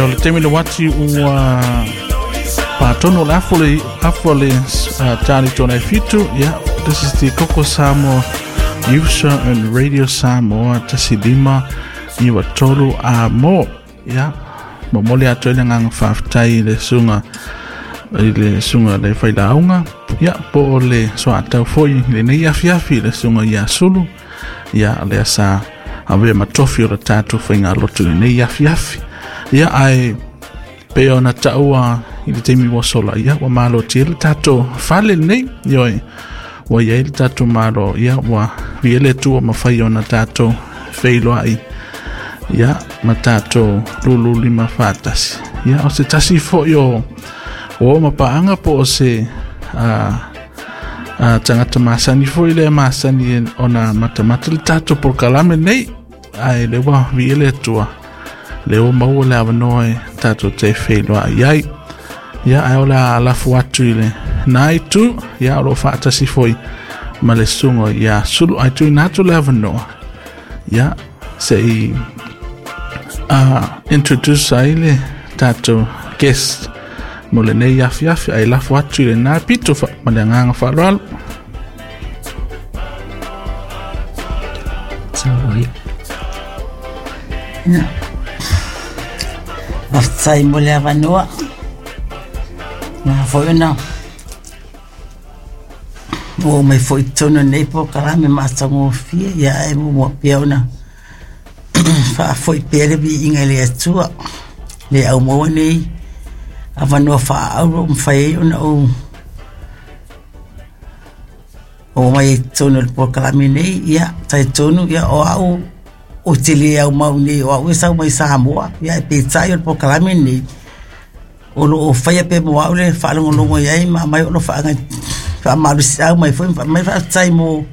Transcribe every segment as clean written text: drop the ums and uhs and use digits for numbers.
le taimi le uati ua patonu o le afu le afu le tali tona e fitu. Ia, this is the Koko Samoa Youth Show on Radio Samoa 1.593 a mo. Ia, momoli atu ai le agaga faafetai i le susuga i le susuga le failauga, ia po o le soatau foi i lenei afiafi i le susuga ia Sulu, ia lea sa avea ma tofi o le tatou faigalotu i lenei afiafi. Ia, ae pei ona taua i le taimi ua sola, ia ua malotia le tatou fale lenei, ioe, ua i ai le tatou malo, ia ua viia le Atua mafai ona tatou feiloai, ia ma tatou lululima faatasi. Ia, o se tasi foi o o mapaaga po o se tagata masani foi lea masani ona matamata le tatou polokalame nei, ae le ua viia le Atua le ua maua le avanoa e tatou te feiloai ai. Ia, ae o le a lafo atu i le na itu, ia o lo o faatasi foi ma le susuga ia Sulu, ae tuuina atu le avanoa, ia se i introduce ai le tatou guest mo lenei afiafi, ae lafo atu i lena pito ma le agaga faaaloalo. Ia. Faafetai mo le avanoa. Na foi ona ua mai foi i totonu o lenei polokalame matagofie, ia ae muamua pea ona faafoi pea le viiga i le Atua le au maua nei avanoa faaauro ua mafai ai ona ou oo mai ai i totonu o le polokalame nei. Ia, talitonu ia o au ou te le aumau nei, o au e sau mai Samoa, ia ae peitai o le polokalame lenei o lo o faia pea mo au le faalogologo i ai ma aumai o lo faamalosiau mai foi ma aumai faafetai mo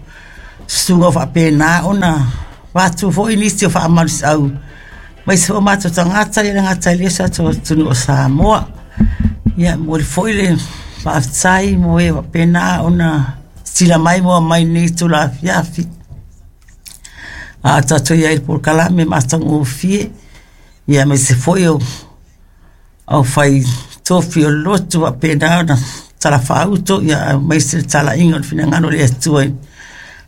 susuga o faapena ona avatu foi nisi o faamalosiau mai se o matou tagata ia le gata i le tatou atunuu o Samoa. Ia, e momoli foi le faafetai mo e faapena ona sila mai ma omai i lenei itula afiafi. A o tatou i ai i le polokalame matagofie, ia aemaise foi o aufai tofi o le lotu faapena ona talafaauto, ia aemaise le talaiga o le finagalo o le Atua i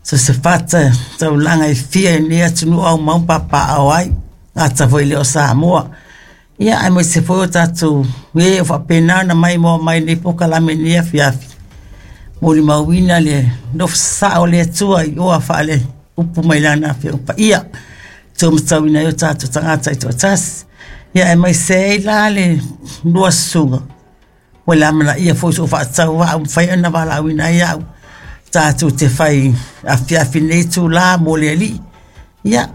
so o se fata taulaga e fia i lenei atunuu aumau ma papaaao ai, gata foi e le o Samoa. Ia aemaise foi o tatou e o faapena ona maimoa mai i lenei polokalame i lenei afiafi, molimauina le nofo sasaa o le Atua i oa faale-upu mai Lana Afioga Paia, e taumatauina ai o tatou tagata taitoatasi. Ia aemaise ai la le lua susuga, ua le amanaia foi sou faatauvaa ua mafai ona valaauina ai au tatou te fai afiafi i lenei itula mo le Alii. Ia,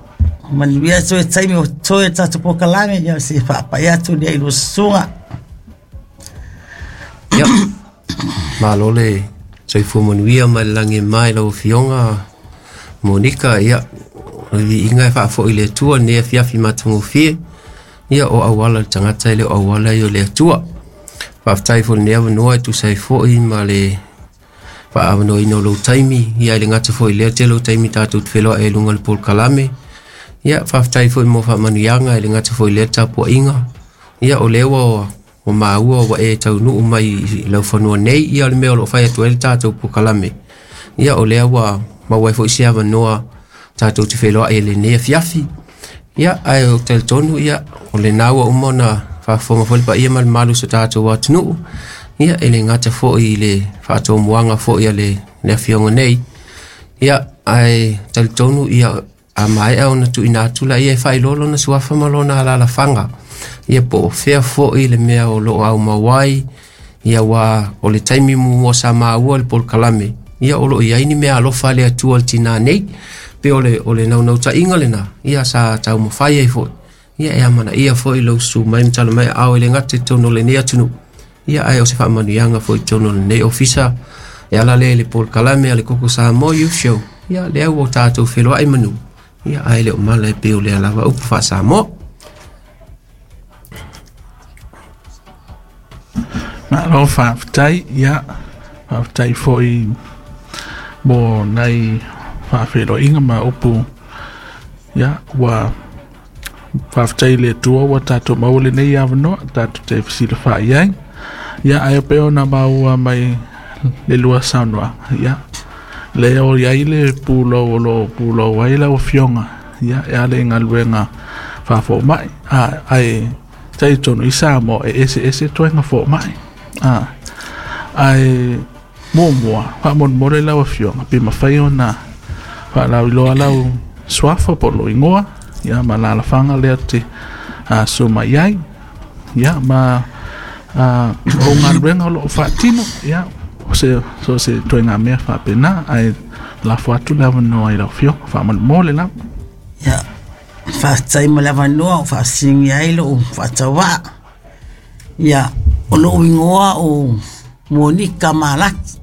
manuia toe taimi o totoe o le tatou polokalame, ia se faapai atu lea i lua susuga. Ia, malo le soifua manuia mai le lagi e mai lau Afioga Monika. Ia, o le viiga e faafoi i le Atua lenei afiafi matagofie. Ia, o auala le tagata e le o auala ia o le Atua. Faafetai foi i lenei avanoa e tusa ai foi ma le faaavanoaina o lou taimi. Ia, e le gata foi i lea tele o taimi tatou te feloai ai i luga o le polokalame. Ia, faafetai foi mo faamanuiaga, e le gata foi i lea tapuaiga. Ia, o lea ua ua maua ua e taunuu mai i laufanua nei, ia o le mea o lo o fai atu ai le tatou polokalame. Ia o lea ua maua ai foi se avanoa tatou te feiloai i lenei afiafi. Ia, ae ou te talitonu, ia, o lena ua uma ona faafofoga foi le paia ma le mamalu o so tatou atunuu. Ia, e le gata foi i le faatomuaga foi a le afioga nei. Ia, ae talitonu, ia, a maea ona tuuina atu laia e faailoa lona suafa ma lona alaalafaga, ia po o fea foi le mea o lo o aumau ai, ia ua o le taimi muamua sa maua le polokalame, ia o lo o i ai ni mea alofa a le Atua i le tinā nei, pei o le, o le naunautaiga lena, ia sa taumafai ai foi, ia e amanaia foi lou susu mai ma tala mai aao e le gata i totonu o lenei atunuu, ia ae o se faamanuiaga foi i totonu o lenei ofisa e ala lea i le polokalame a le Koko Samoa Youth Show, ia lea ua tatou feloai manu, ia ae le o mala e pei o lea lava upu faa-Samoa. Malo faafetai, ia faafetai foi mo nai faafeiloaiga ma upu, ia ua Faafetai i le Atua ua tatou maua lenei avanoa tatou te fesilafai ai. Ia, ae pei ona maua mai le lua saunoaga, ia, lea o i ai le pulou o lo o pulou ai lau Afioga, ia, e ala i galuega faafomai. Ae talitonu i Samoa e eseese ituaiga fomai. Ae muamua, faamolemole lau Afioga, pe mafai ona faalauiloa lau suafa po o lou igoa, ia, ma alaalafaga lea te susu mai ai, ia, ma o galuega o lo o faatino, ia, so se ituaiga mea faapena, ae lafo atu le avanoa i lau Afioga, faamolemole lava. Ia, faafetai mo le avanoa o faafesiligia ai lou faatauvaa. Ia, o lou igoa o Monika Malaki,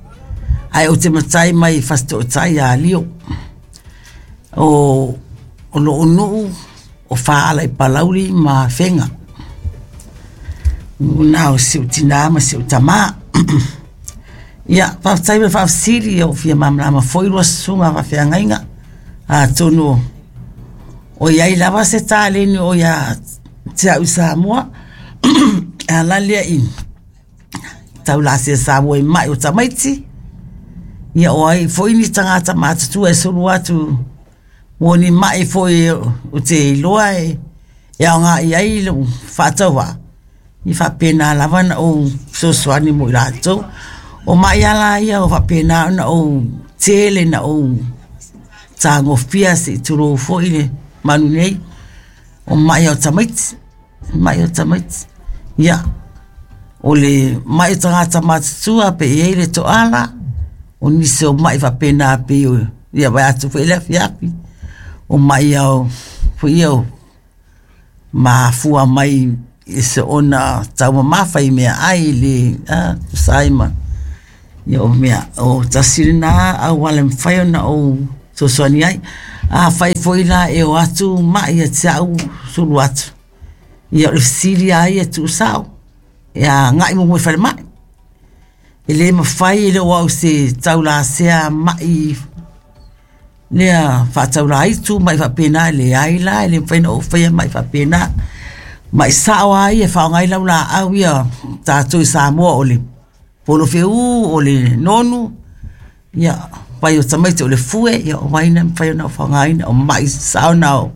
ae ou te matai mai Fasitootai ia Lio. O lou nuu o Faala i Palauli ma Afega. O na o si ou tinā ma si ou tamā. Ia, faafetai mo le faafesili, ua fia malamalama foi lua susuga faafeagaiga. Atonu o i ai lava se taleni o ia te au i Samoa, e ala lea i taulāsia Samoa i mai o tamaiti, ia o ai foi ni tagata matutua e sulu atu mo ni mai foi ou te iloa e aoga i ai lou faatauvaa, e faapena lava ona ou fesoasoani mo i latou. O mai lava la ia o faapena ona ou tele na ou tagofia se i tulou foi le manu nei, o mai o tamaiti, mai o tamaiti. Ia, o le mai o tagata matutua pe i ai le toala, o nisi o mai faapena pei o ia vae atu foi le afiafi, o mai ao foi ia o mafua mai i soona taumamafa i meaai i le tusa ai ma ia o mea o tasi lena auala e mafai ona ou fesoasoani ai. Afai foi la e o atu mai ia te au sulu atu, ia o le fesili lava ia e tuusao, e agai muamua i le falemai. E le mafai e le o au se taulasea mai lea faataulaitu mai faapena, e leai la, e le mafai ona ou faia mai faapena. Mai sao lava ia e faaaoga ai lau laau ia tatou i Samoa o le polofeu, o le nonu, ia, vai o tamaiti o le fue, ia o vai na e mafai ona faaaogaina, o mai sao na e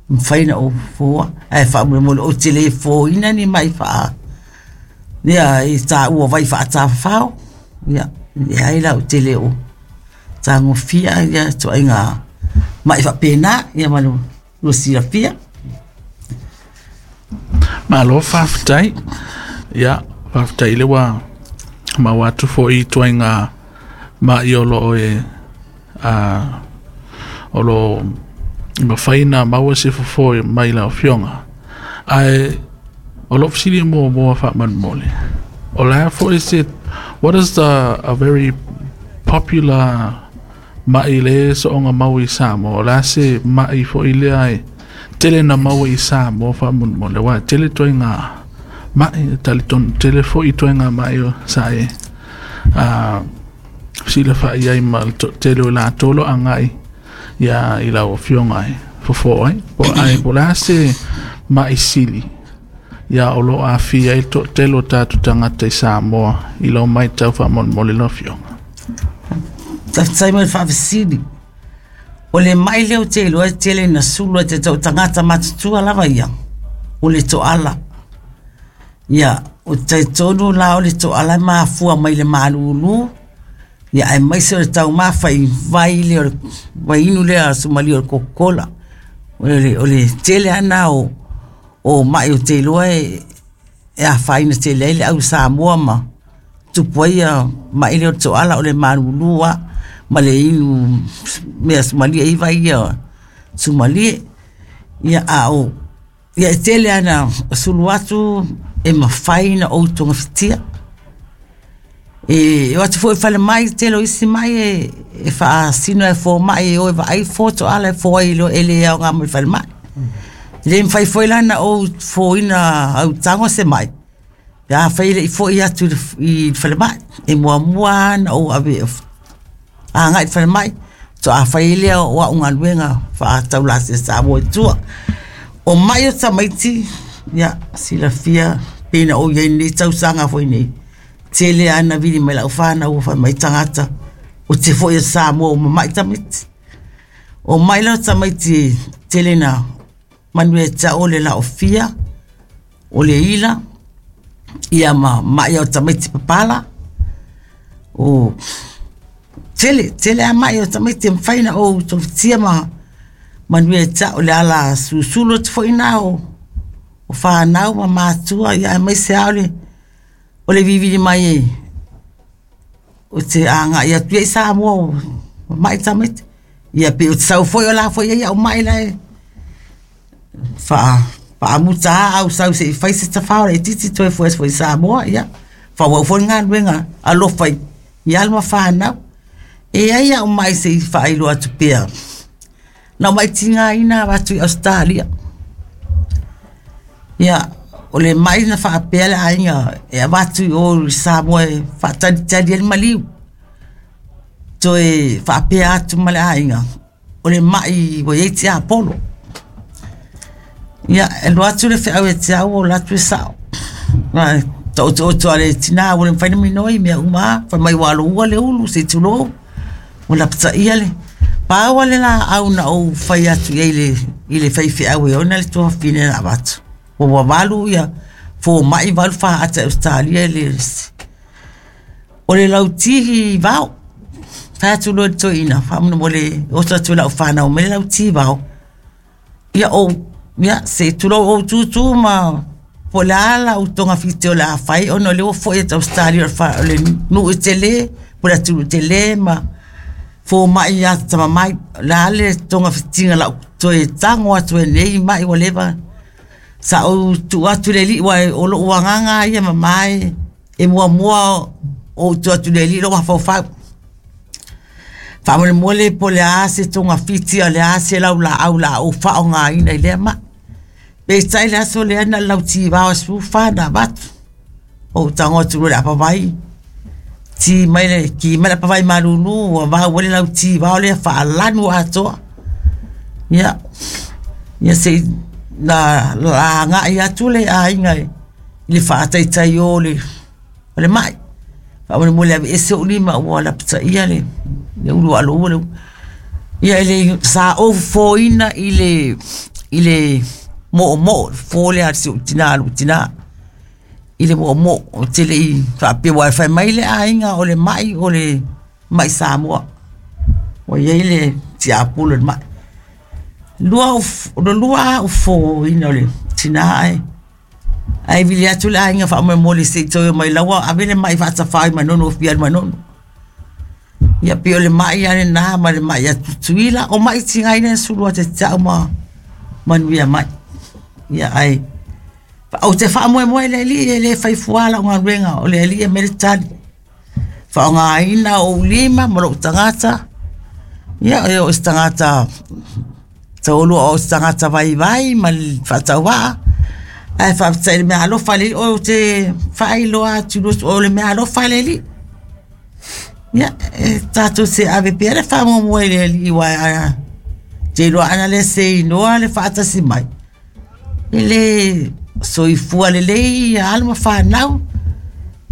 mafai ona ou foa. Ae faamolemole ou te le foaina ni mai faa, lea e taua o vai faatafafao, ia, leai la ou te le o tagofia ia ituaiga mai faapena, ia ma le silafia. Malo faafetai. Ia, faafetai le ua maua atu foi i ituaiga mai o lo o e o lo o mafai ona maua se fofo mai lau Afioga. Ae o lou fesili muamua faamolemole, o le a foi se, what is the a very popular mai le soonga mau i Samoa? O le a se mai foi lea e tele na maua i Samoa faamolemole? Aua e tele ituaiga mai, e talitonu tele foi ituaiga mai o sa e fesilafai ai ma le toatele o i latou o lo o agai ia i lau Afioga e fofo ai. Po ae po o le a se mai sili ia o lo o aafia ai le toatele o tatou tagata i Samoa i lau matau faamolemole lau Afioga? Faafetai mo le faafesili. O le mai lea ou te iloa e tele ina sulu ai te tau tagata matutua lava ia, o le toala. Ia, ou te talitonu la o le toala e mafua mai le malulu, ia aemaise o le taumafa i vai lea o le vaiinu lea suamalie o le Coca-Cola. O le tele lava lena o mai ou te iloa e afaina tele ai le au Samoa ma tupu ai ia mai lea o le toala o le malulu lava ma le inu mea suamalie ai vai ia suamalie. Ia a o ia e tele lava ina sulu atu e mafai ona ou togafitia. E o atu foi i le falemai, tele o isi mai e faasino e fomai e o e vaai fo toala e fo ai loa e le aoga mo le falemai. E le mafai foi la ona ou foina au tago se mai, pe afai e le i foi atu i le falemai. E muamua lava ona ou ave agai i le falemai, faatoa fai ai lea o au galuega faataulāsia Samoa i tua. O ma'i o tamaiti, ia, silafia pei na ou i ai i lenei tausaga foi nei, tele lava ina vili mai lau fanau ua fai mai tagata, ou te foi atu i Samoa ua mamai tamaiti. O mai la o tamaiti e tele ina manuia ia te au o le laofia, o le ila, ia ma mai o tamaiti papala. O tele, tele lava mai o tamaiti e mafai ona ou togafitia ma manuia ia te au. O le ala susulu atu foi lena o fanau ma matua, aemaise lava o le vilivili mai ou te agai atu ia i Samoa ua mamai tamaiti. Ia pe ou te sau foi o la foi e i ai au mai la e faamuta lava au sau se i fai se tafao laitiiti toe foi atu foi i Samoa, ia faaauau foi le galuega alofa i alo ma fanau. E i ai au mai se i faailoa atu pea. Na ou mai tigaina avatu i Ausetalia. Ia, o le mai na faapea le aiga e avatu i o i Samoa e faatalitali ai le maliu. Toe faapea atu ma le aiga, o le mai ua i ai tiapolo. Ia, e alu atu le feau ia te au, o alu atu e sao. Taotooto a le tina ua le mafai ona minoi mea uma lava, fai mai ua aloua le ulu se i tulou, ua lapataia le... Pau lava le laau na ou fai atu i ai i le faifeau e ona le tuafafine na avatu. Ua 8 ia fomai, 8 faata i Ausetalia e le O le lautihi vao. Fai atu loa i le toeaina, faamolemole oso atu i lau fanau mai le lauti vao. Ia ou, ia se i tulou ou tutu ma po o le a lau togafiti o le a fai ona o lea ua foi atu Ausetalia o le nuu e tele, po o le atunuu tele ma fomai ia tamamai. O le a le togafitiga o le a ou toe tago atu ai i lenei mai ua leva. Sa ou tuu atu i le Alii aua o lou agaga lava ia mama e e muamua ou tuu atu i le Alii lou mafaufau. Faamolemole po o le a se togafiti a o le a se laulaau o le a ou faaaogaina i lea mai. Peitai le aso lea na o le lautivao e 14 na avatu. Ou tago atu loa i le apavai, ki mai le apavai malulu ua vau ai le lautivao lea faalanu atoa. Ia, ia se i na agai atu le aiga i le faataitai o le mai. Faamolemole aveese ou lima ua lapataia le ulu aloua le ulu. Ia e le, sa ou fofoina i le moomoo, le fofo lea a si ou tina, lou tina i le moomoo. Ou te le i faapea, aua fai mai le aiga o le mai o le mai Samoa. Ua i ai le tiapula o le mai. O le lua lava ou fofoina o le tina ae ae vili atu le aiga faamolemole se i toe omai la ua ave le mai faatafao i Manono ua fia alu i Manono. Ia pei o le mai lava lena ma le mai a Tutuila. O mai tigaina na sulu atu ia te au ma manuia mai. Ia ae ou te faamoemoe i le Alii e le fai fua lau galuega, o le Alii e aumai le tali. Faaaogaina ou lima ma lou tagata, ia e oo i se tagata taualua o se tagata vaivai ma le faatauvaa, ae faafetai i le meaalofa a le Alii. Ou te faailoa atu o le meaalofa a le Alii. Ia, e tatou te ave pea le faamuamua i le Alii aua ou te iloa ana le seinoa le faatasi mai, e le soifua lelei ia alo ma fanau,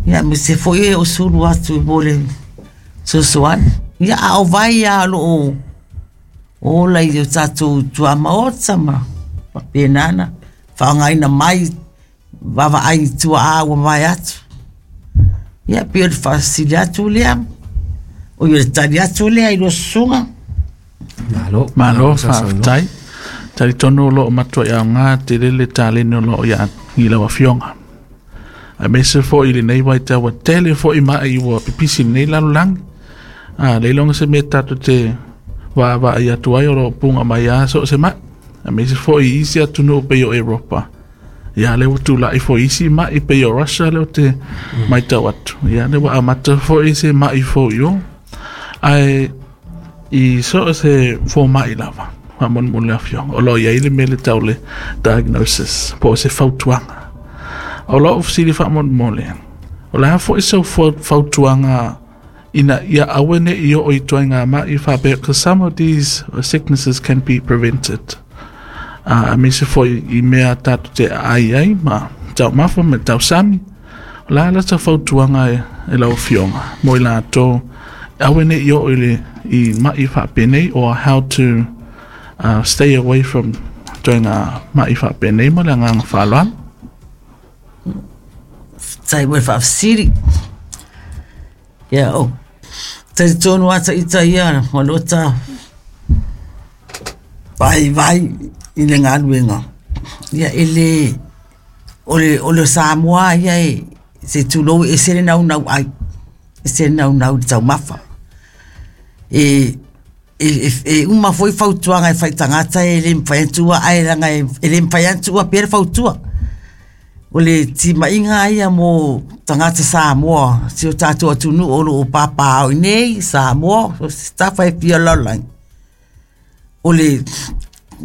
ia aemaise foi e o sulu atu mo le fesoasoani. Ia, a o vai lava o lo o ola i o tatou tuamaota ma faapena ona faaaogaina mai vaavaai i tuaa ua mavae atu. Ia, pei o le faafesili atu lea, o le tali atu lea i lua susuga. Malo, malo faafetai. Talitonu o lo o matuai aoga tele le taleni o lo o ia i lau afioga. Aemaise foi i lenei vaitau ua tele foi mai ua pipisi i lenei lalolagi. A le iloga se mea tatou te vaavaai atu ai o lo o puga mai lava so o se mai. Aemaise foi i isi atunuu pei o Europa. Ia lea ua tulai foi isi mai pei o Russia lea ou te matau atu. Ia lea ua amata foi se mai fou i o. Ae i so o se fomai lava, faamolemole le afioga, o lo o i ai le mea le tau le diagnosis, po o se fautuaga. O lou fesili faamolemole, o le a foi sau fautuaga ina ia aua ne i oo i ituaiga ma'i faapea, because some of these sicknesses can be prevented. Aemaise foi i mea tatou te aai ai ma taumafa ma tausami. O le a la se fautuaga e lau Afioga mo i latou aua ne i oo i le i mai faapenei, or how to stay away from ituaiga mai faapenei? Ma le agaga faaaloalo. Faafetai mo le faafesili. Ia, o talitonu lava ita ia ma lota vaivai i le galuega, ia e le o le Samoa ia e se tulou, e ese le naunau ai, ese le naunau i le taumafa. E uma foi fautuaga e fai i tagata e le mafai ona tuua, ae leaga e le mafai lava ona tuua pea le fautua. O le timaiga lava ia mo tagata Samoa, si o tatou atunuu o lo o papaaao i inei i Samoa, so o se tafa e fia o le lalolagi, o le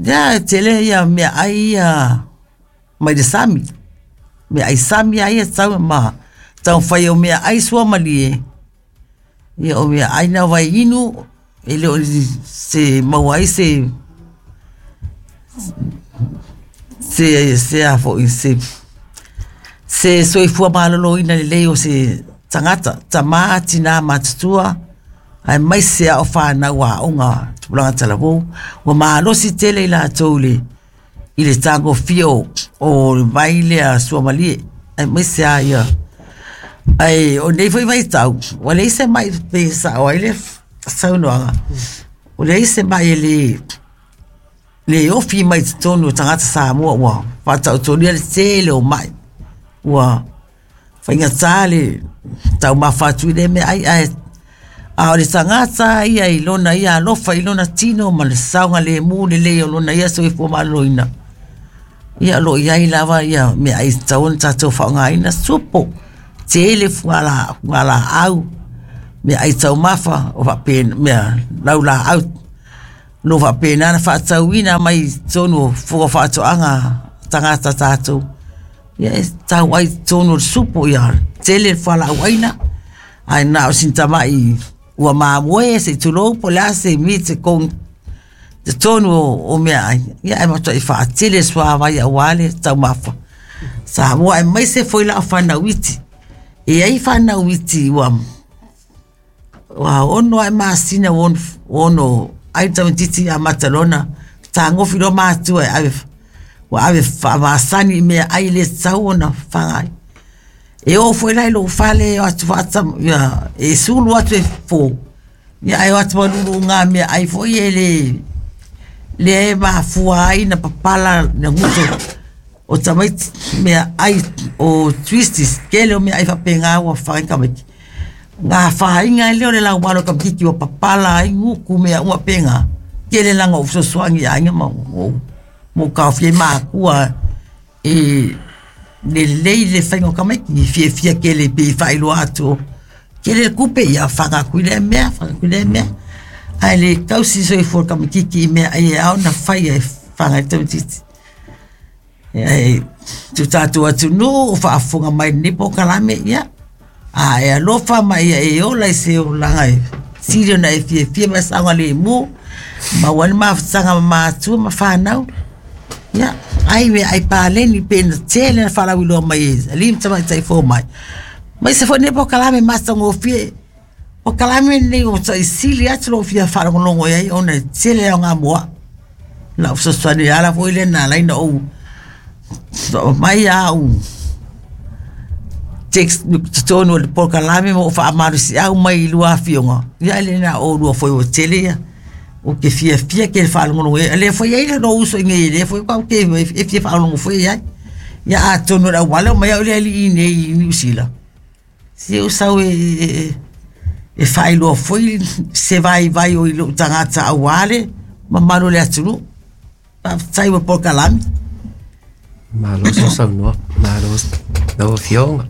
e tele ia meaai ia mai le sami, meaai sami lava ia e tatau ma taumafai o meaai suamalie, ia o meaai na vaiinu, e le o se maua ai se se a foi se soifua maloloina lelei o se tagata, tama, tina matutua, aemaise lava o fanau aoga tupulaga talavou, ua malosi tele i latou i le tagofia o le vai lea suamalie, aemaise lava ia. Ae o lenei foi vaitau, ua leai se mai pe sao ai le saunoaga, ua leai se mai e le ofi mai totonu o tagata Samoa, ua faataotolia le tele o mai, ua faigata le taumafa atu i lea meaai, ae a o le tagata ia i lona ia alofa i lona tino ma le saogalemu lelei o lona ia soifua maloloina, ia o lo o i ai lava ia meaai e tatau ona tatou faaaogaina, supo, tele fugalaau, meaai taumafa o faapena, mea laulaau o lo o faapena ona faatauina mai i totonu o fua o faatoaga a tagata tatou. Ia e tau ai i totonu o le supo, ia tele le fualaau aina, ae na o sina tamai ua mamoe se i tulou po o le a se meat e totonu o meaai, ia ae matuai faatele le suavai aua le taumafa Samoa, aemaise foi la o fanau iti. E i ai fanau iti ua 6 ae masina ua ono ai le tamaitiiti amata loa ona fetagofi loa matua e ave, ua ave faamasani i meaai e le tatau ona faga ai. E oo foi la i lou fale e o atu ia, e sulu atu e fofo, ia ae o atu ma luluga meaai foi e le lea e mafua ai na papala na guto o tamaiti meaai o twisties, tele o meaai faapena ua fafaga ai tamaiti. Na afaina ai lea o le laualo o tamaititi ua papala ai gutu mea uma faapena. Tele la na ou fesoasoani i aiga ma ou taofia ai matua e lelei le faiga o tamaiti, e fiafia tele pei e faailoa atu tele le tupe, ia faga atu i lea mea, faga atu i lea mea. Ae le tausi soifua o le tamaititi i mea e ao ona faia e faga ai le tamaititi. E si o tatou atunuu o faafofoga mai i lenei polokalame, ia, a e alofa ma ia e ola i se olaga e sili ona e fiafia ma e saogalemu, maua ai le mafutaga ma matua ma fanau. Ia, ai meaai paleni pei ona tele ona faalauiloa mai e alii ma tamaitai fomai. Aemaise foi lenei polokalame matagofie. Polokalame lenei ua matuai sili atu lou fia faalogologo i ai ona e tele aoga mo au. Lau fesoasoani le ala foi lea na ala ai ona ou aumai au text i totonu o le polokalame ma ou faamalosiau mai i lua afioga, ia e le na o oulua foi ua tele ia. Ou te fiafia tele faalogologo i ai. O lea foi e i ai lou uso i inei, o lea foi ou te fia faalogologo foi i ai. Ia atonu o le auala e omai au le alii i inei i Niu Sila, se ou sau e faailoa foi se vaivai o i lou tagata aua le mamalu o le atunuu. Faafetai mo polokalame. Malo sausaunoa, malo lau Afioga.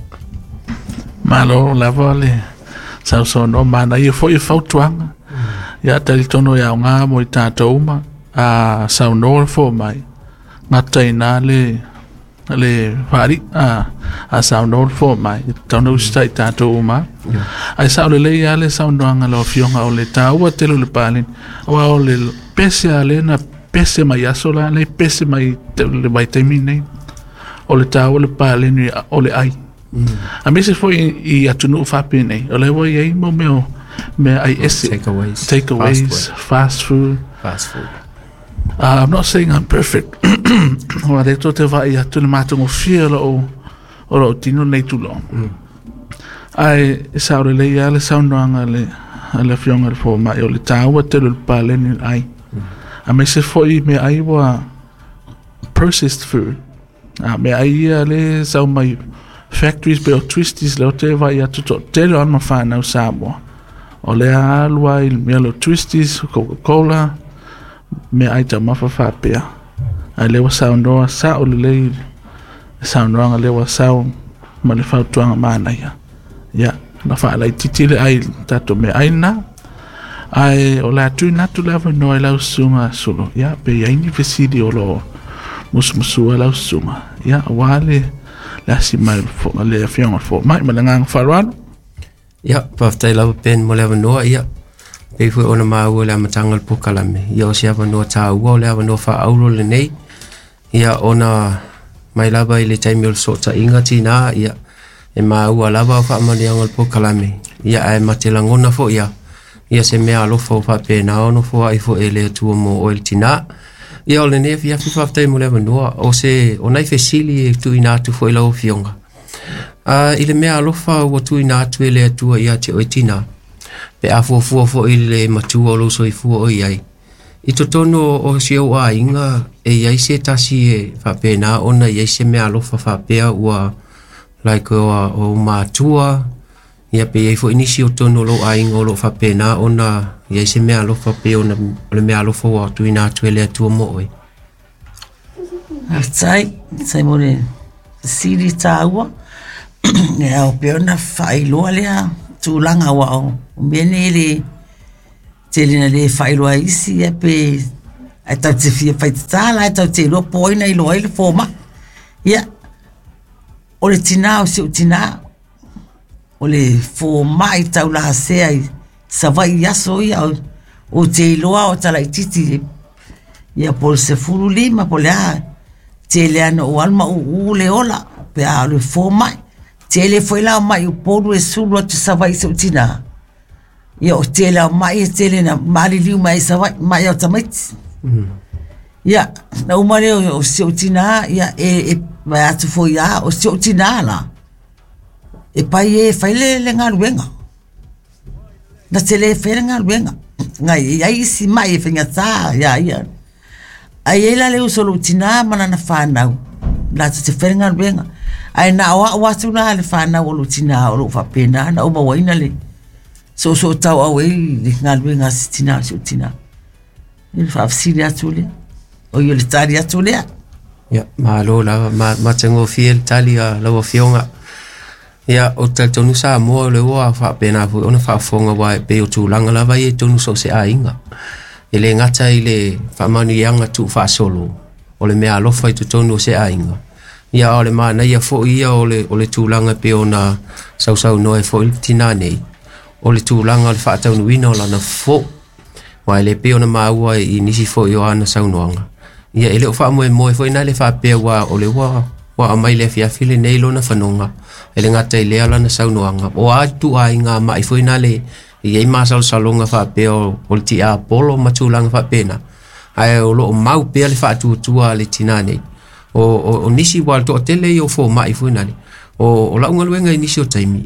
Malo lava le sausaunoa, manaia foi e fautuaga. Ia talitonu e aoga mo i tatou uma, a saunoa le fomai, gata i ina le faali'i, a saunoa le fomai, e tatau ona usitai i tatou uma. Ae sao lelei lava le saunoaga a lau Afioga, o le taua tele o le paleni, aua o le pese lava lea na pese mai aso la nei pese mai le vaitaimi nei o le tāua le paleni o le ai. A mese foi i atunuu faapenei o le ua iai mo mea mea ai ese Takeaways. Takeaways, fast food. Fast food. I'm not saying I'm perfect. Ua le to te vai atu le matagofie o lou tino nei tulaga. Ae e sao lelei lava le saunoaga a le afioga i le fomai o le tāua tele o le paleni o le ai. A mese foi mea ai ua processed food. A mea ai ia le sau mai factories pe o twisties lea ou te vaai atu toatele o alo ma fanau Samoa. O lea alu ai le mea lea o twisties, Coca-Cola, mea ai taumafa faapea. Ae lea ua saunoa sao lelei le saunoaga lea ua sau ma le fautuaga manaia. Ia, na faalaitiiti le ai i le tatou meaai lena. Ae o le a tuuina atu le avanoa i lau susuga Sulu, ia, pe i ai ni fesili o lo o musumusua lau susuga, ia, aua le le asi mai o le afioga i le fomai ma le agaga faaaloalo. Ia, faafetai lava Ben mo le avanoa, ia, pei foi ona maua i le amataga o le polokalame, ia o se avanoa taua, o le avanoa faaauro lenei, ia ona mai lava i le taimi o le fesootaiga tinā, ia, e maua lava faamanuiaga o le polokalame, ia ae ma te lagona foi ia, ia se mea alofa ua faapena ona foai foi e le Atua mo oe le tinā. Ia o lenei afiafi faafetai mo le avanoa, o se o nai fesili e tuuina atu foi i lau Afioga. I le mea alofa ua tuuina atu e le Atua ia te oe tinā, pe a fuafua foi i le matua o lou soifua o i ai, i totonu o si ou aiga e i ai se tasi e faapena ona i ai se mea alofa faapea ua like o, o matua, ia pe i ai foi nisi o totonu o lou aiga o lo o faapena ona i ai se mea alofa pe ona o le mea alofa ua tuuina atu e le Atua mo oe. Faafetai, faafetai mo le fesili taua. E ao pea ona faailoa lea tulaga aua o mea nei e le tele ina le faailoa e isi ia pe ae tatou te fia faitata la, tatou te iloa po o ai na iloa ai le fomai. Ia, o le tinā o si ou tinā, o le fomai taulasea i Savaii i aso ia, ou te iloa o talaitiiti ia po o le 15 po o le a, tele lava ina ou alu ma uu le ola pe a o le fomai. Tele foi la o mai Upolu e sulu atu i Savaii i si ou tinā, ia o tele lava o mai e tele ina maliliu mai ai i Savaii, mai o tamaiti. Ia, na uma lea o si ou tinā, ia e vae atu foi lava, o si ou tinā la, e pai e fai le galuega. Na te le faia le galuega, na i ai isi mai e faigata ia ia. Ae i ai la le uso o lou tinā ma lana fanau, latou te faia le galuega. Ae na o au atu la le fanau o lou tinā o lo o faapena ona ou mauaina le soosootauau ai i le galuega a si tinā o si ou tinā. I le faafesili atu lea, o i o le tali atu lea. Ia, malo lava, matagofie le tali a lau Afioga. Ia, ou te talitonu Samoa o lea ua faapena foi ona faafofoga aua e pei o tulaga lava ia i totonu o so o se aiga. E le gata i le faamanuiaga tuufaasolo o le mea alofa i totonu o se aiga, ia a o le manaia foi ia o le tulaga e pei ona sausaunoa ai foi le tinā nei, o le tulaga o le faataunuuina o lana fofo. Aua e le pei ona maua i nisi foi o ana saunoaga, ia e le o faamoemoe foi na le faapea ua o le ua ua aumai le afiafi lenei lona fanoga, e le gata i lea lana saunoaga, o a ituaiga mai foi na le i ai masalosaloga faapea o le tiapolo ma tulaga faapena, ae o lo o mau pea le faatuatua a le tinā nei. O nisi ua toatele ia o fomai foi na le, o lau galuega i nisi o taimi,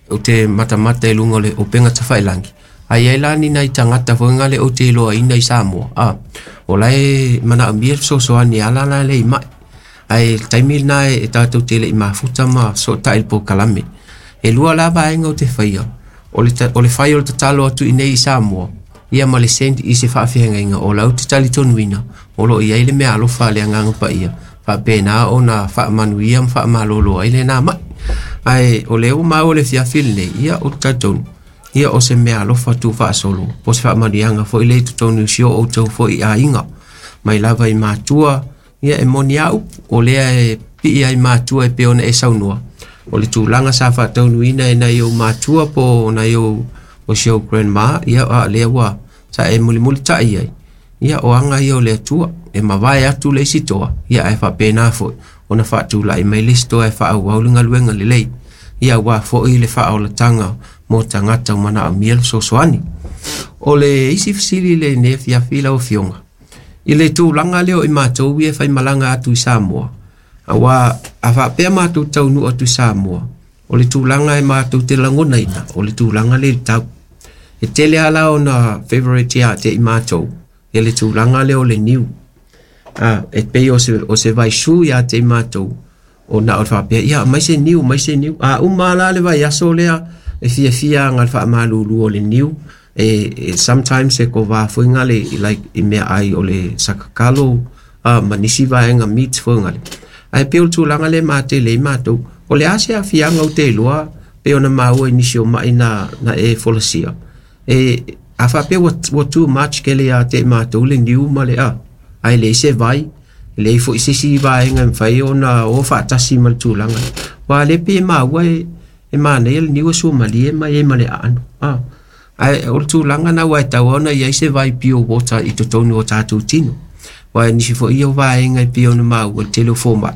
ou te matamata i luga o le upega tafailagi, ae i ai la ni nai tagata foi nga le ou te iloaina i Samoa, a, o la e manaomia le fesoasoani e ala la le i mai. Ae le taimi lena e tatou te le i mafuta ma fesootai i le polokalame. E lua la vaega ou te faia, o le fai o le tatalo atu i nei i Samoa, ia ma le send i se faafeagaiga o la ou te talitonuina o lo o i ai le mea alofa a le Agaga Paia, faapena ona faamanuia ma faamalolo ai lena mai. Ae o lea ua maua le afiafi lenei, ia ou te talitonu, ia o se mea alofa tuufaasolo, po o se faamanuiaga foi lea i totonu o si o outou foi aiga. Mai lava i matua, ia e moni a upu, o lea e pii ai matua e pei ona e saunoa, o le tulaga sa faataunuuina e nai ou matua po o nai ou o si ou grandma, ia a lea ua sa e mulimulitai ai. Ia o aga ia o le Atua, e mavae atu le isi toa, ia ae faapena foi ona faatulai mai le isi toa e faaauau le galuega lelei, ia auā foi le faaolataga mo tagata ua manaomia le fesoasoani. O le isi fesili i lenei afiafi lau Afioga, i le tulaga lea o i matou ia e faimalaga atu i Samoa, auā a faapea matou taunuu atu i Samoa, o le tulaga e matou te lagonaina, o le tulaga lea i le tau. E tele lava la ona favourite ia te i matou ia le tulaga lea o le niu. E pei o se vaisu ia te i matou, ona o le faapea, ia aumai se niu, aumai se niu. A uma la le vaiaso lea, e fiafia aga i le faamalulu o le niu, e sometimes e kovā foi ngale like i meaai o le sakakalo ma nisi vaega meat foi ngale. Ae pei o le tulaga lea e matele ai matou, o le a se aafiaga ou te iloa pei ona maua i nisi o mai na e folasia, e a faapea ua too much kele ia te i matou le niu ma le a, ae leai se vai, e leai foi se isi vaega e mafai ona o faatasi ma le tulaga. Aua o lea e pei e maua e manaia le niu e suamalie ma i ai ma le aano. Ae o le tulaga na ua e tatau ona i ai se vai pure water i totonu o tatou tino. Aua nisi foi ia o vaega e pei ona maua i le tele o fomai,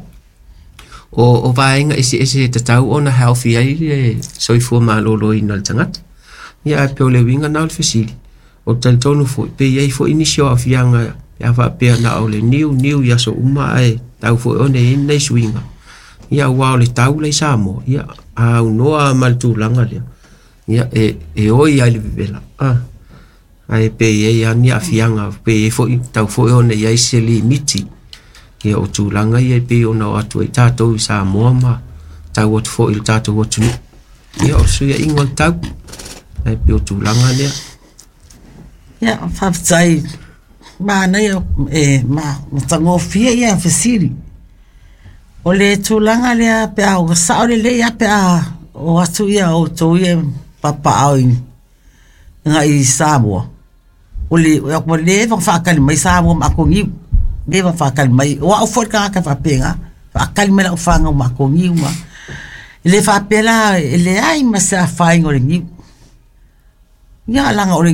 o vaega eseese e tatau ona healthy ai le soifua maloloina o le tagata. Ia ae pei o le uiga na o le fesili, ou te talitonu foi pe i ai foi nisi o aafiaga pe a faapea na o le niu niu i aso uma ae tatau foi ona i ai ni nai suiga. Ia aua o le tau la i Samoa, ia a aunoa ma le tulaga lea, ia e oi lava i le vevela. Ae pe i ai lava ni aafiaga, pe i ai foi, tatau foi ona i ai se limiti ia o tulaga ia e pei ona o atu ai tatou i Samoa ma tau atu foi i le tatou atunuu. Ia o le fesuiaiga o le tau, ae pei o tulaga lea. Ia, faafetai. Manaia e matagofie ia fesili. O le tulaga lea pe a ua sao lelei lava pe a o atu ia outou ia papaaao i agai i Samoa, o le ua leva ona faatali mai Samoa ma ato niu, leva ona faatali mai. O au foi le tagata faapena, faatali mai lau fanau ma ato niu ma. E le faapea la e leai ma se afaina o le niu. Ia leaga o le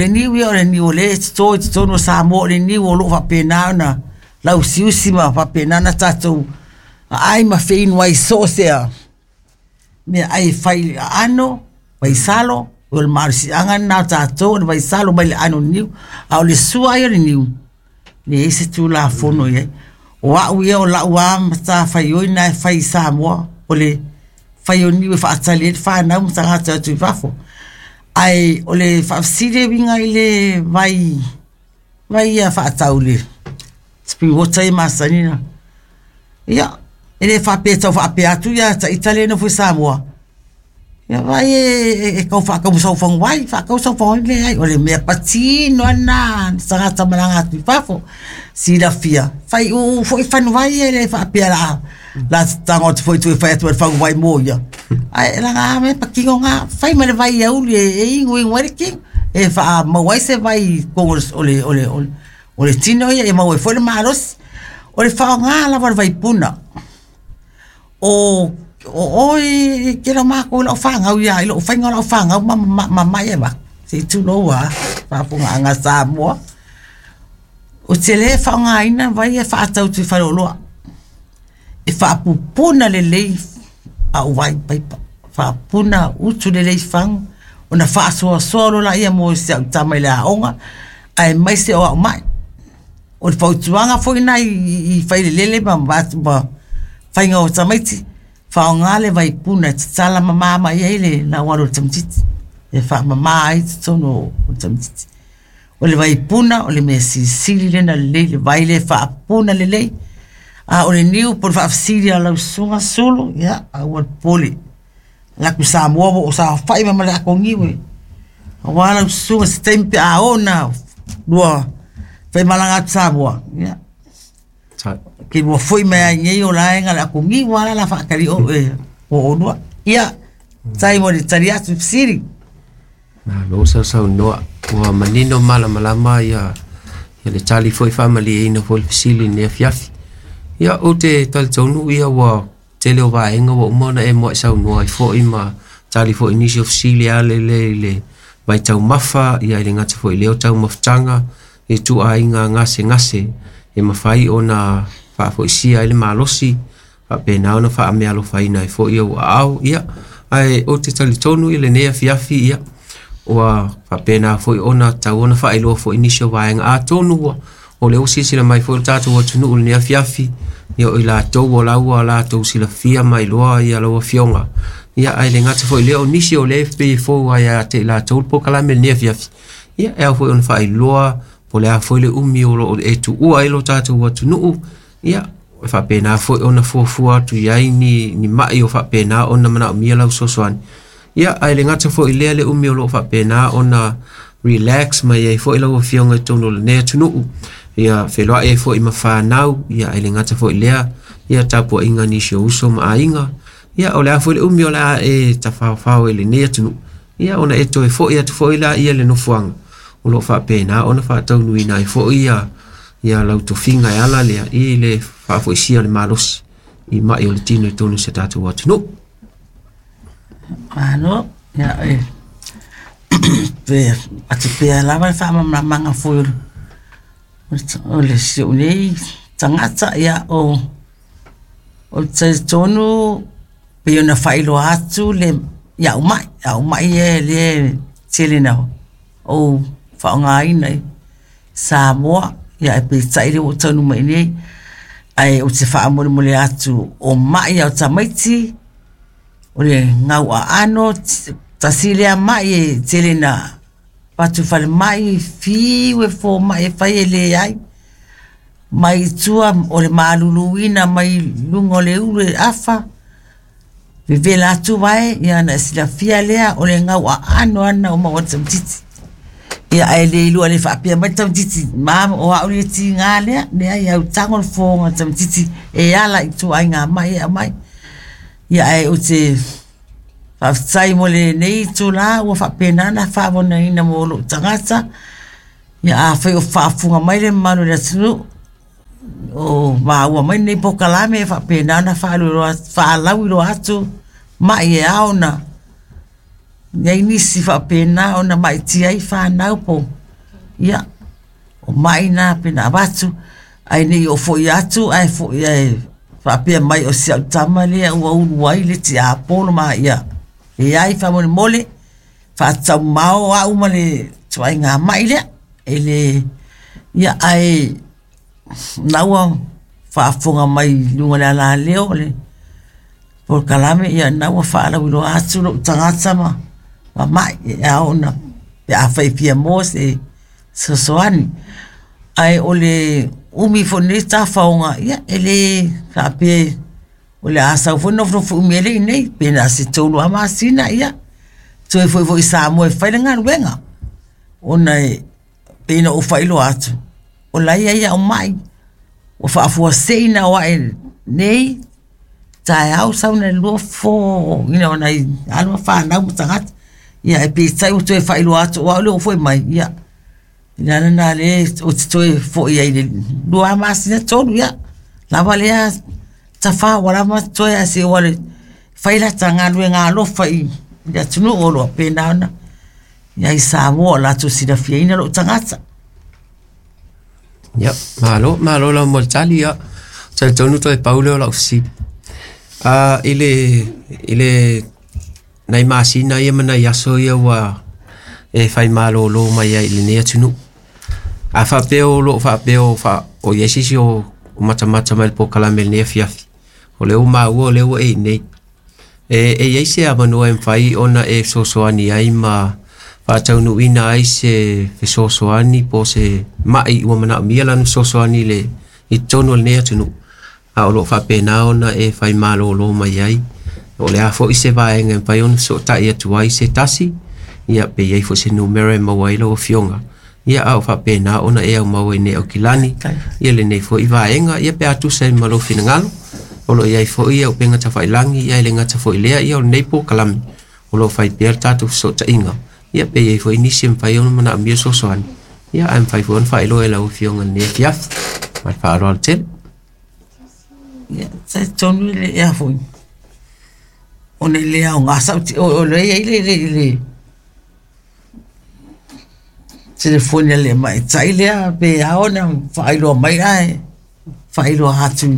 niu ia o le niu o lea e toto i totonu o Samoa, o le niu o lo o faapena ona lauusiusi ma faapena ona tatou aai ma feinu ai i so o se meaai e fai i aano, vaisalo, o le malosiaga lena o tatou o le vaisalo mai le aano o le niu. A o le sua ia o le niu, e leai se Tulafono i ai. O au ia o lau lava matafaioi lena e fai i Samoa, o le fai o niu e faatali ai le fanau ma tagata e o atu i fafo. Ae o le faafesili e uiga i le vai, vai ia faatau le spring water ia masani ona. Ia, e le faapea e tau faapea atu ia ita lea e nofo i Samoa, ia vaai e tau faatau sau faguvai, faatau sau faguvai, leai, o le mea patino lava lena a le tagata malaga atu i fafo. Silafia, faiuu foi faguvai ia, e le faapea o le a tago atu foi i tua e fai atu ai le faguvai mo ia. Ae leaga a mea patino na, fai ma le vai auli e inuinu ai le tino, e faamaua ai se vai i totonu o le tino ia, e maua ai foi le malosi. O le faaaoga lava o le vaipuna, o oe i le tele o matou i lau fanau ia, i lou faiga o lau fanau ma mai e avatu, se i tulou lava, faafofogaaga a Samoa. Ou te le faaaogaina vai ia faatau atu i faleoloa. E faapupuna lelei au vai paipa, faapupuna utu lelei fagu, ona faasoasoa loa lea mo si au tama i le aoga, aemaise o au mai. O le fautuaga foi lena i failelele ma faiga o tamaiti, faaaoga le vaipuna e tatala mama mai ai le laualo o le tamaitiiti, e faamama ai totonu o le tamaitiiti. O le vaipuna o le mea silisili lea ona lelei, le vai lea e faapuna lelei. A o le niu po o le faafesili a lau susuga Sulu, ia aua le popole. Alu atu i Samoa ua ou saofai mai ma le ato niu e. Aua lau susuga se taimi pe a oo ina lua faimalaga atu i Samoa, ia ke lua foi mai ai nei o la e na o le ato niu lava la faatali o e o olua. Ia, faafetai mo le tali atu i fesili. Malo sausaunoa, ua manino malamalama ia le tali foi faamalieina foi le fesili i lenei afiafi. Ia, ou te talitonu ia ua tele o vaega ua uma ona e muai saunoa ai foi ma tali foi i nisi o fesili e ala lea i le vaitaumafa, ia e le gata foi i lea o taumafataga, ituaiga gasegase e mafai ona faafoisia ai le malosi faapena ona faameaalofaina ai foi ou aao. Ia, ae ou te talitonu i lenei afiafi, ia, ua faapena foi ona tatau ona faailoa foi nisi o vaega. Atonu ua o lea ua silasila mai foi le tatou atunuu i lenei afiafi, ia o i latou o la ua latou silafia ma iloa ia lau afioga. Ia ae le gata foi i lea o nisi o lea e pei e fou lava ia te i latou le polokalame i lenei afiafi, ia e ao foi ona faailoa po o le a foi le umi o lo o e tuua ai lo tatou atunuu, ia e faapena foi ona fuafua atu i ai ni, ni mai o faapena ona manaomia lau fesoasoani. Ia, ae le gata foi i lea le umi o lo o faapena ona relax mai ai foi lau afioga i totonu o lenei atunuu, ia feloai ai foi ma fanau, ia ae le gata foi i lea, ia tapuaiga a nisi o uso ma aiga, ia o le a foi le umi o le a e tafaofao ai i lenei atunuu, ia ona e toe foi atu foi lea i le nofoaga o lo o faapena ona faataunuuina ai foi ia, ia lau tofiga e ala lea i le faafoisia o le malosi i mai o le tino i totonu o si o tatou atunuu. Malo, ia e pe atu pea lava le faamalamalamaga foi o le si ou nei tagata, ia o o le talitonu pei ona faailoa atu le i au mai, au mai ia lea e tele ina ou faaaogaina i Samoa, ia ae peitai lea ua ou taunuu mai i inei, ae ou te faamolemole atu o mai a o tamaiti, o le gauaano, tasi lea mai e tele ina avatu i falemai, fiu e fomai e fai e leai. Mai i tua o le maluluina mai luga o le ulu e afa, vevela atu vae, ia ona e silafia lea o le gau aano lava lena ua maua e le tamaitiiti. Ia ae le iloa le faapea mai le tamaitiiti, ma o au le tiga lea, leai au tago le fofoga o le tamaitiiti e ala i ituaiga mai e aumai. Ia ae ou te faafetai mo lenei itula ua faapena ona faavonaina mo lou tagata. Ia afai o faafofoga mai le mamalu o le atunuu, o maua mai lenei polokalame e faapena ona faalauiloa atu mai e ao ona i ai nisi faapena ona maitia ai fanau po o, ia, o mai na pei ona avatu, ae ne i oo foi atu ae foi ae faapea mai o si au tama lea ua ulu ai le tiapolo ma ia leai faamolemole faataumao au ma le ituaiga mai lea e le ia ae na ua faafofoga mai i luga o le alaleo o le polokalame ia na ua faalauiloa atu lou tagata ma mai e ao ona pe afai e fia maua se fesoasoani. Ae o le umi foi o lenei tafaoga ia e le faapea o le a sau foi nofonofo umi ai le i inei, pe na o se 3 lava masina ia toe foi foi i Samoa e fai le galuega ona e pei ona ou faailoa atu, o la e i ai au mai ua faafuasei ona o ae nei taeao sau na lua fofo ina nai alo ma fanau ma tagata. Ia ae peitai ua toe faailoa atu o au lea ua foi mai, ia o le ala lena lea ou te toe foi ai i le 2 masina 3, ia lava lea tafa ua lava totoe ae se i ou alu e fai lata galuega alofa i le atunuu o lo o faapena ona i ai i Samoa o latou silafiaina lou tagata. Ia, malo, malo lava mo le tali, ia. Talitonu toe pau lea o lau fesili. I le, i le nai masina ia ma nai aso ia ua e fai malolo mai ai i lenei atunuu. A faapea o lo o faapea o, fa, o i ai se isi o, o matamata mai le polokalame i lenei afiafi, o lea ua maua o lea ua e i inei. E, e i ai se avanoa e mafai ona e fesoasoani ai ma faataunuuina ai se fesoasoani po o se mai ua manaomia lana fesoasoani i le i totonu o lenei atunuu, a o lo o faapena ona e fai malolo mai ai. O le a foi se vaega e mafai ona fesootai atu ai se tasi, ia pe i ai foi se numera e maua ai lau afioga, ia a o faapena ona e aumau ai nei Aukilani, ia lenei foi vaega, ia pe a tusa ai ma lou finagalo, o lo o i ai foi ia upega tafailagi, ia e le gata foi i lea, ia o lenei polokalame, o lo o fai pea le tatou fesootaiga, ia pe i ai foi nisi e mafai ona manaomia fesoasoani, ia ae mafai foi ona faailoa e lau Afioga i lenei afiafi. Ma le faaaloalo tele. Ia, talitonu le ea foi, ona e le aoga sau, o lea e i ai le Telefoni a le tamaitai lea pe ao ona faailoa mai ae faailoa atu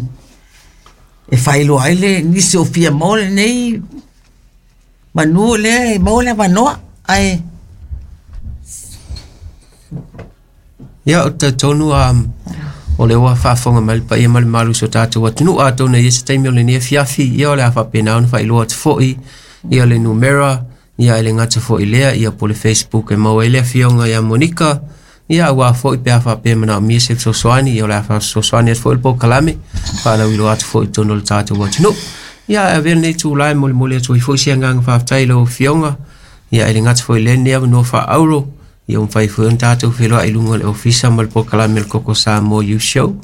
e faailoa ai le nisi o fia maua lenei manu lea e maua le avanoa ae Ia, ou te talitonu o lea ua faafofoga mai le paia ma le mamalu o si o tatou atunuu. Atonu e i ai se taimi o lenei afiafi, ia o le a faapena ona faailoa atu foi ia le numera, ia e le gata foi i lea, ia po o le Facebook e maua ai le afioga ia Monika, ia aua foi pe a faapea e manaomia se fesoasoani, ia o le a fesoasoani atu foi le polokalame, faalauiloa atu foi i totonu o le tatou atunuu. Ia ae avea lenei itula e molimoli atu ai foi se agaga faafetai i lau Afioga, ia e le gata foi i lea lenei avanoa faaauro, ia ua mafai foi ona tatou feiloai i luga o le ofisa ma le polokalame o le Koko Samoa Youth Show.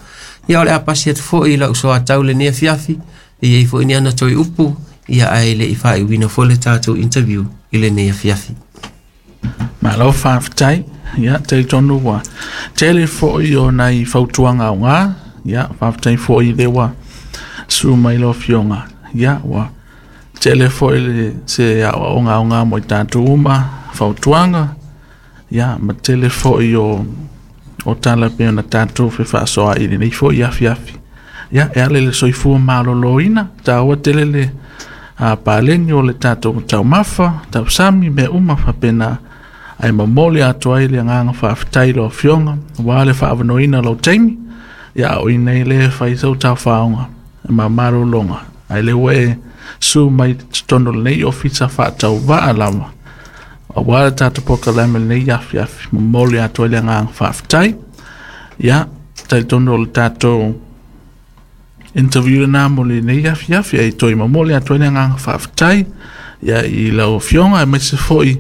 Ia o le a pasi atu foi i lau soatau lenei afiafi, e i ai foi ni ana toe upu, ia ae le i faaiuina foi le tatou interview i lenei afiafi. Malo faafetai. Ia, talitonu ua tele foi o nai fautuaga aoga. Ia, faafetai foi i le ua susu mai lau Afioga. Ia, ua tele foi le se aoaoga aoga mo i tatou uma, fautuaga, ia, ma tele foi o tala pei ona tatou fefaasoaai i lenei foi afiafi. Ia, e ala i le soifua maloloina, taua tele le paleni o le tatou taumafa, tausami, mea uma faapena, ae momoli atu ai le agaga faafetai i lau Afioga, aua le faaavanoaina o lou taimi, ia a o i inei lea e fai sau taofaoga ma malologa, ae o lea ua e susu mai i totonu o lenei ofisa faatauvaa lava, aua le tatou polokalame i lenei afiafi, momoli atu ai le agaga faafetai. Ia, talitonu o le tatou interview lena mo lenei afiafi, ae toe momoli atu ai le agaga faafetai ia i lau Afioga aemaise foi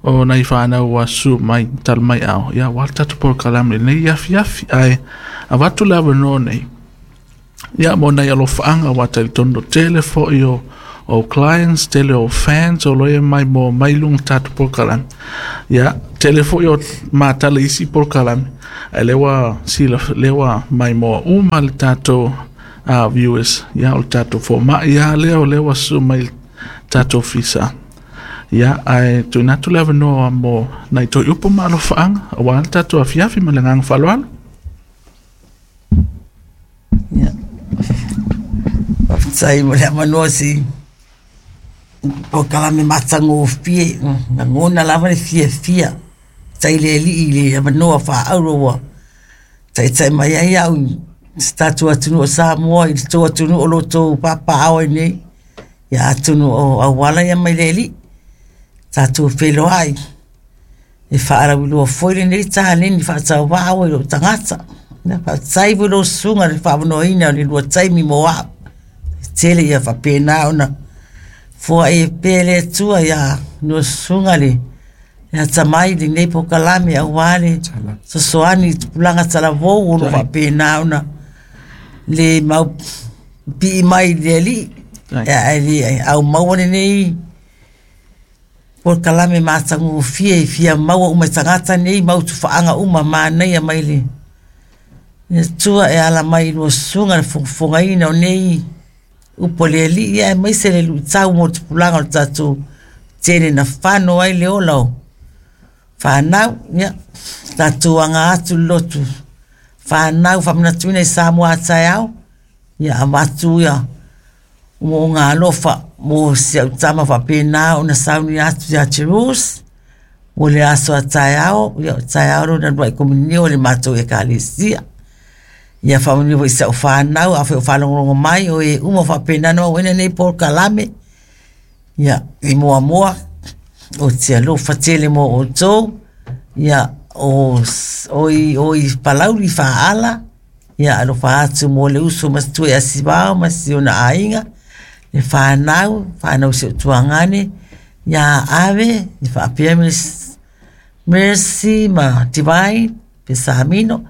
o nai fanau ua susu mai talu mai ao, ia aua le tatou polokalame i lenei afiafi. Ae avatu le avanoa nei ia mo nai alofaaga aua talitonu tele foi o clients, tele o fans o lo o e mai mo mai luga o tatou polokalame. Ia, tele foi o matala i isi polokalame, ae lea ua sila, lea ua maimoa uma le tatou viewers, ia o le tatou fomai lava lea o lea ua susu mai i le tatou ofisa. Ia, ae tuuina atu le avanoa mo nai toe upu ma alofaaga aua le tatou afiafi ma le agaga faaaloalo. Ia, faafetai mo le avanoa si polokalame matagofie, lagona lava le fiafia, faafetai i le Alii i le avanoa faaauro ua taitai mai ai au i si tatou atunuu o Samoa i le tou atunuu o lo o outou papaaao ai nei. Ia atonu o auala ia mai le Alii, tatou feiloai e faalauiloa foi lenei taleni faatauvaa oe i lou tagata. Ia faafetai foi lau susuga i le faaavanoaina o le lua taimi mo au. E tele ia faapena ona foai ai pea le Atua ia lua susuga le atamai i lenei polokalame aua le fesoasoani i tupulaga talavou o lo o faapena ona le mau pipii mai i le Alii, ae le aumaua lenei polokalame matagofie e fia maua uma e tagata nei mau tufaaga uma manaia mai le Atua e ala mai i lua susuga le fogafogaina o nei upu a le Alii aemaise le luitau mo tupulaga o le tatou tele na fano ai le ola o fanau. Ia, tatou aga atu le lotu fanau faamanatuina i Samoa a taeao, ia avatu ia mo'oga alofa mo si au tama faapena ona sauni atu ia Jerus mo le aso a taeao, ia o taeao lona uluai komunio o le matou ekalesia. Ia faamanuia foi i si au fanau, afai o faalogologo mai, o e uma faapena ona mauaina nei polokalame, ia i muamua, ou te alofa tele mo outou, ia o i Palauli Faaala, Ia alofa atu mo le uso matua ia Sivao ma si ona aiga, le fanau, fanau si ou tuagane, ia Ave, ia faapea Mercy ma Divine, Pesamino.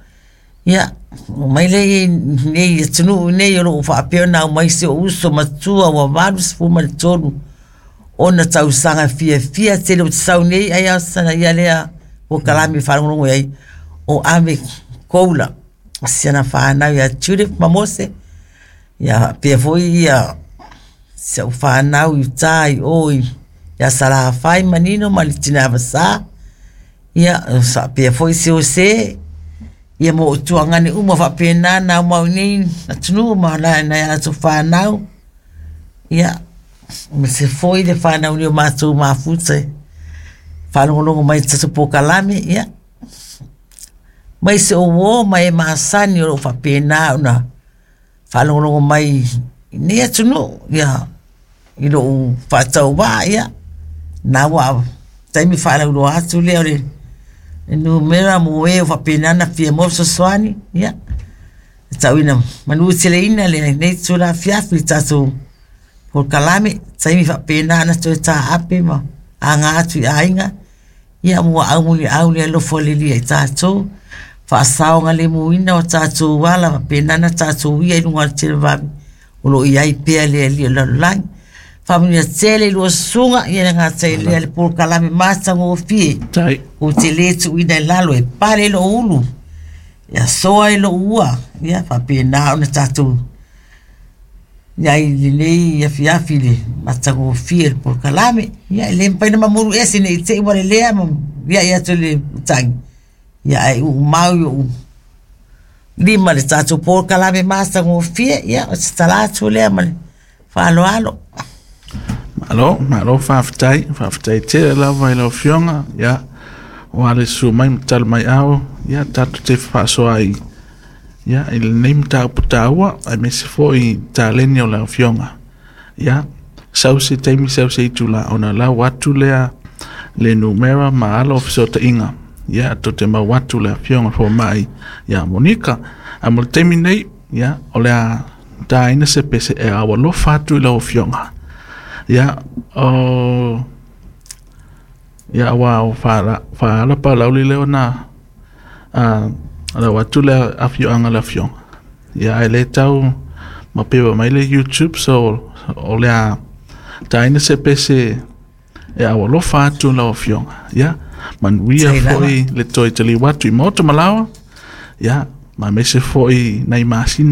Ia, omai lea i nei atunuu nei o lo o faapea ona aumai si ou uso matua ua 83 ona tausaga fiafia tele ou te sau nei ai a sana ia lea polokalame faalogologo i ai o Ave Koula si ana fanau ia Judith ma Mose ia faapea foi ia si au fanau i uta i o i ia Salafai Manino ma le Tina Vasa. Ia faapea foi se Ose ia ma ou tuagane uma faapena na aumau nei atunuu ma nai a latou fanau. Ia ma se foi le fanau nei o matou mafuta e faalogologo mai i tatou polokalame, ia mai se o uo ma e masani o loo faapena ona faalogologo mai i nei atunuu, ia i lou faatauvaa, ia na ua taimi faalauiloa atu lea o le numera mo e o faapena ona fia maua fesoasoani, ia e tauina manuteleina lenei itula afiafi i le tatou polokalame, taimi faapena ona toe taape ma aga atu i aiga, ia muaau muliau le alofa o le Alii ia i tatou, faasaogalemuina o tatou ala faapena ona tatou uia i luga o le televavave o lo o i ai pea le Alii o le lalolagi. Faamanuia tele i lua susuga, ia le gata i lea le polokalame matagofie. Tai. Ou te le tuuina i lalo e pale lou ulu, e asoa i lou ua, ia faapena ona tatou i ai i lenei afiafi i le matagofie o le polokalame. Ia e le mafai ona mamulu ese ne i te i ua lelea ma liai atu e le matagi, ia ae uumau i ou lima le tatou polokalame matagofie. Ia o se tala atu lea ma le faaaloalo. Malo, malo faafetai, faafetai tele lava i lau Afioga, ia, aua le susu mai ma tali mai ao, ia, tatou te fefaasoaai ai, ia, i lenei mataupu taua, aemaise foi taleni o lau Afioga. Ia, sau se taimi sau se itula ona lau atu lea le numera ma alo o fesootaiga. Ia, tou te mau atu le Afioga fomai ia Monika. Ae mo le taimi nei, ia, o le a taina se pese e ao alofa atu i lau Afioga. Ia, o ia aua o faala palauli lea ona lau atu le afioaga le afioga. Ia ae le tau mapewa mai le YouTube, so o le a taina se pese e au alofa atu lau afioga. Ia, manuia foi le toe taliu atu i maota malaoa. Ia, ma aemaise foi nai masina.